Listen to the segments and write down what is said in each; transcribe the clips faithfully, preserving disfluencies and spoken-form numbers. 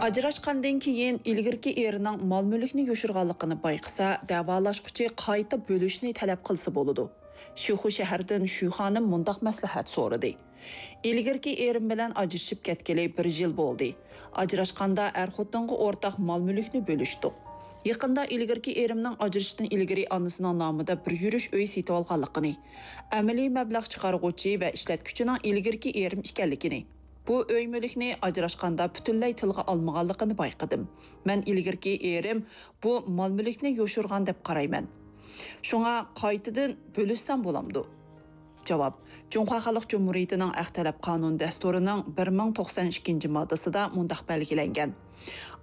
ئاجراشقاندىن كېيىن ئىلگىرىكى ئېرىنىڭ مال-مۈلۈكنى يوشۇرغانلىقىنى بايقىسا، دەۋالاشقۇچى قايتا بۆلۈشنى تەلەپ قىلسا بولىدۇ. شىخۇ شەھىرىدىن شۈ خانىم مۇنداق مەسلىھەت سورىدى: «ئىلگىرىكى ئېرىم بىلەن ئاجرىشىپ كەتكىلى بىر يىل بولدى. ئاجراشقاندا ئەر-خوتۇنغا ئورتاق مال-مۈلۈكنى بۆلۈشتۇق. يېقىندا ئىلگىرىكى ئېرىمنىڭ ئاجرىشىشتىن ئىلگىرى ئانىسىنىڭ نامىدا بىر يۈرۈش ئۆي سېتىۋالغانلىقىنى، ئەمەلىي مەبلەغ چىقارغۇچى ۋە ئىشلەتكۈچىنىڭ ئىلگىرىكى ئېرىم ئىكەنلىكىنى، بۇ ئۆي مۈلۈكنى ئاجراشقاندا پۈتۈنلەي تىلغا ئالمىغانلىقىنى بايقىدىم. مەن ئىلگىرىكى ئېرىم بۇ مال-مۈلۈكنى يوشۇرغان دەپ قارايمەن. شۇڭا قايتىدىن بۆلۈشسەم بولامدۇ؟» جاۋاب: جۇڭخۇا خەلق جۇمھۇرىيىتىنىڭ ئەخ تەلەپ قانۇن دەستۇرىنىڭ بىر مىڭ توقسان ئىككىنچى ماددىسىدا مۇنداق بەلگىلەنگەن: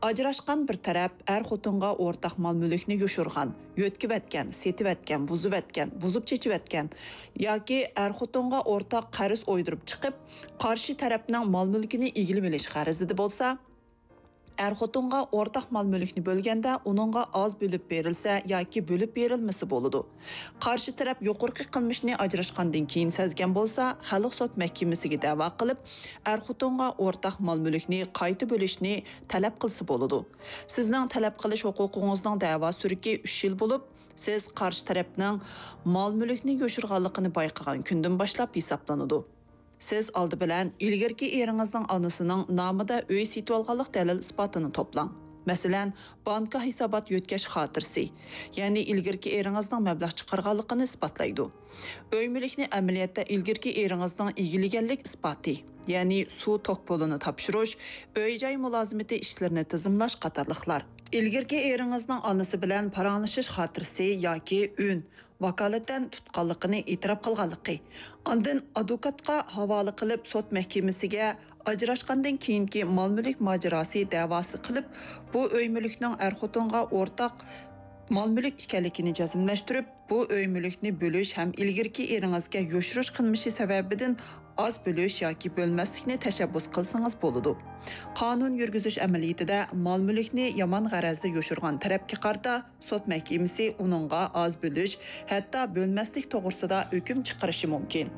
«ئاجراشقان بىر تەرەپ ئەر-خوتۇنغا ئورتاق مال-مۈلۈكنى يوشۇرغان، يۆتكىۋەتكەن، سېتىۋەتكەن، بۇزۇۋەتكەن، بۇزۇپ چېچىۋەتكەن ياكى ئەر-خوتۇنغا ئورتاق قەرز ئويدۇرۇپ چىقىپ، قارشى تەرەپنىڭ مال-مۈلكىنى ئىگىلىۋېلىش غەرىزىدە بولسا، ئەر-خوتۇنغا ئورتاق مال-مۈلۈكنى بۆلگەندە ئۇنىڭغا ئاز بۆلۈپ بېرىلسە ياكى بۆلۈپ بېرىلمىسە بولىدۇ. قارشى تەرەپ يۇقىرىقى قىلمىشنى ئاجراشقاندىن كېيىن سەزگەن بولسا، خەلق سوت مەھكىمىسىگە دەۋا قىلىپ، ئەر-خوتۇنغا ئورتاق مال-مۈلۈكنى قايتا بۆلۈشنى تەلەپ قىلسا بولىدۇ. سىزنىڭ تەلەپ قىلىش ھوقۇقىڭىزنىڭ دەۋا سۈرۈكى ئۈچ يىل بولۇپ، سىز قارشى تەرەپنىڭ مال-مۈلۈكنى يوشۇرغانلىقىنى بايقىغان كۈندىن باشلاپ ھېسابلىنىدۇ. سىز ئالدى بىلەن ئىلگىرىكى ئېرىڭىزنىڭ ئانىسىنىڭ نامىدا ئۆي سېتىۋالغانلىق دەلىل-ئىسپاتىنى توپلاڭ. مەسىلەن، بانكا ھېسابات يۆتكەش خاتىرىسى، يەنى ئىلگىرىكى ئېرىڭىزنىڭ مەبلەغ چىقارغانلىقىنى ئىسپاتلايدۇ. ئۆي مۈلۈكنى ئەمەلىيەتتە ئىلگىرىكى ئېرىڭىزنىڭ ئىگىلىگەنلىك ئىسپاتى، يەنى سۇ توك پۇلىنى تاپشۇرۇش، ئۆي-جاي مۇلازىمىتى ئىشلىرىنى تىزىملاش قاتارلىقلار. ئىلگىرىكى ئېرىڭىزنىڭ ئانىسى بىلەن پاراڭلىشىش خاتىرىسى ياكى ئۈن، ۋاكالىتەن تۇتقانلىقىنى ئېتىراپ قىلغانلىقى، ئاندىن ئادۋوكاتقا ھاۋالە قىلىپ سوت مەھكىمىسىگە ئاجراشقاندىن كېيىنكى مال-مۈلۈك ماجىراسى دەۋاسى قىلىپ، بۇ ئۆي مۈلۈكنىڭ ئەر-خوتۇنغا ئورتاق مال-مۈلۈك ئىكەنلىكىنى جەزملەشتۈرۈپ، بۇ ئۆي مۈلۈكنى بۆلۈش ھەم ئىلگىرىكى ئېرىڭىزگە يوشۇرۇش قىلمىشى سەۋەبىدىن ئاز بۆلۈش ياكى بۆلمەسلىكنى تەشەببۇس قىلسىڭىز بولىدۇ. قانۇن يۈرگۈزۈش ئەمەلىيىتىدە مال-مۈلۈكنى يامان غەرەزدە يوشۇرغان تەرەپكە قارىتا سوت مەھكىمىسى ئۇنىڭغا ئاز بۆلۈش، ھەتتا بۆلمەسلىك توغرىسىدا ھۆكۈم چىقىرىشى مۇمكىن.